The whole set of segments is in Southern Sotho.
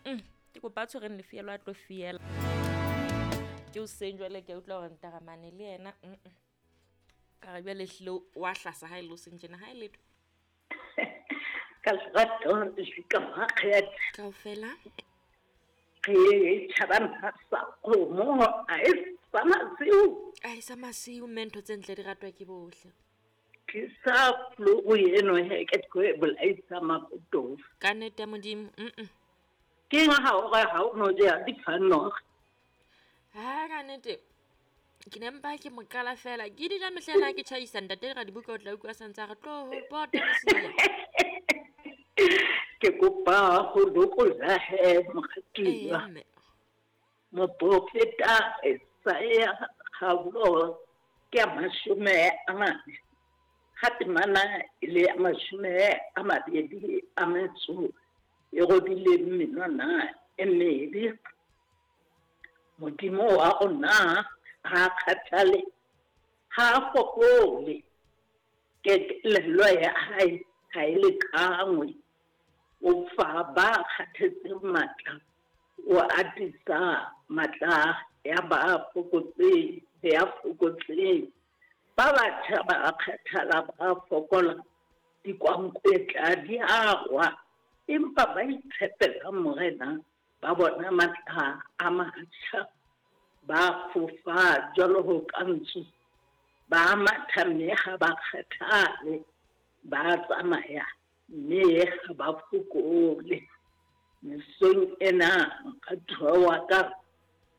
Mm ke kopa a tshwereng lefielo a tlo fiela. Ke o seng jwale ke a utlwa hore ntaramane le yena mm ka re jwale ehlile wa hlasa ha e le o seng tjena ha e letho. Ka lerato le ka makgethe. Kaofela. Re tjhaba sa kgomo a e sa masiu. A e sa masiu mme ntho tse ntle di ratwa ke bohle. Ke sa flu eno he ke tlo e bolaisa makotofa. Ka nnete ya Modimo. Mm. Ke eng ha o re ha o no ja difanoga? Ha ka nnete ke ne mpa ke mo qala fela ke di ja mehlena ke tjhaisa ntate ra dibuka o tla utlwa santse a re tloho pota mosia. Ke kopa ho lokolla he moratuwa. Ee mme. Moprofeta Isaiah kgaolo ke ya 40 ha temana e le ya 22 a metso e robileng menwana e mebe. Modimo wa rona ha a kgathale, ha a fokole. Ketelelo ya hae ha e lekangwe. O fa ba kgathetseng matla, o atisa matla ya ba fokotseng, ya fokotseng. Ba batjha ba kgathala, ba fokola, dikwankwetla di a wa, empa ba itshepela Morena, ba bona matla a matjha, ba fofa jwalo ka ntsu, ba matha mme ha ba kgathale, ba tsamaya mme ha ba fokole. Mesong ena moratuwa wa ka,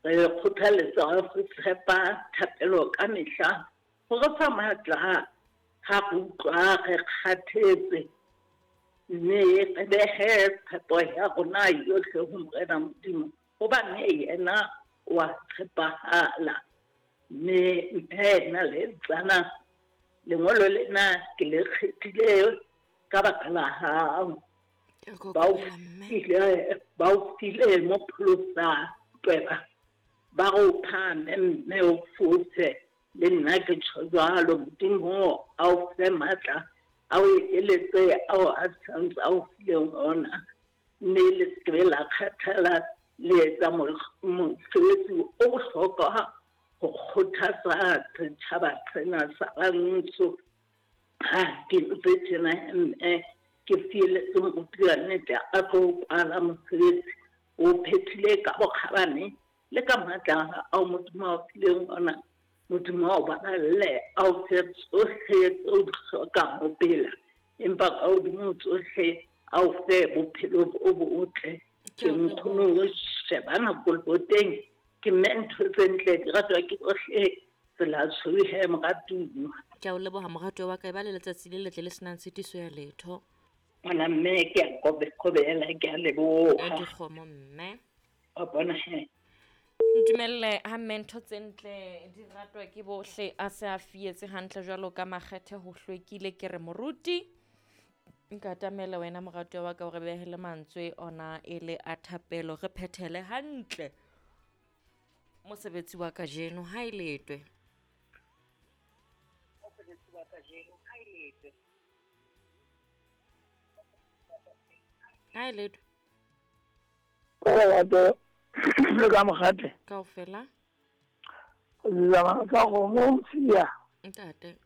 re kgothaletsa ho tshepa thapelo ka mehla ho re fa matla ha re utlwa re kgathetse, mme re behe tshepo ya rona yohle ho Morena Modimo, hobane yena wa tshepahala. Mme mme le tsana lengolo lena ke le kgethile ka baka la hao. Ke a kokobela mme. Ba o file mo pholosa tweba, ba re o phahame mme o fofe. Le nna ke tjho jwalo, Modimo a o fe matla, a o ekeletse ao a santse a o fileng ona, mme le se ke la kgathala le etsa mosebetsi o bohlokwa ho kgothatsa setjhaba sena sa rantsho. Ha ke ntse tjena mme ke fieletse moruti wa nnete a tlo kwala mosebetsi o phethile ka bokgabane le ka matla ao Modimo a o fileng ona. Modimo a o baballe, a o fe tsohle tseo o di hlokang ho phela, empa ka hodimo tsohle a o fe bophelo bo botle. Ke nkgono o sheba nako leboteng, ke mme ntho tse ntle di ratwa ke bohle. Tsela tshweu he moratuwa. Ke a o leboha moratuwa wa ka, e ba le letsatsi le letle le senang tshitiso ya letho. Ngwana mme ke a kobela, ke a leboha. Dikgomo mme. Wa bona he. Ntumelle ha mme ntho tse ntle di ratwa ke bohle a se a fietse hantle jwalo ka makgethe ho hlwekile. Ke re moruti nka atamela wena moratuwa wa ka o re behele mantswe ona e le a thapelo, re phethele hantle mosebetsi wa kajeno ha e letwe. Mosebetsi wa kajeno ha e letwe. Ha e letwe. Lerato le ka mokgate. Kaofela. Zama ka kgomo mosia. Ntate.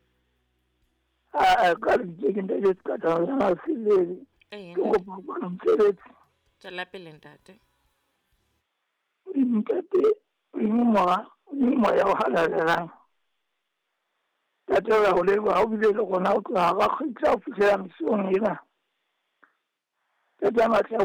A ka lebitso ke ntate Sekatana ya Masilele. Ee, Ke kopa ho kwala mosebetsi. Tswela pele ntate. Modimo Ntate, Modimo Mora, Modimo Moya o halalelang. Ntate re a o leboha o bile le rona ho tloha ra kgutla ho fihlela mesong ena. Ntate a matla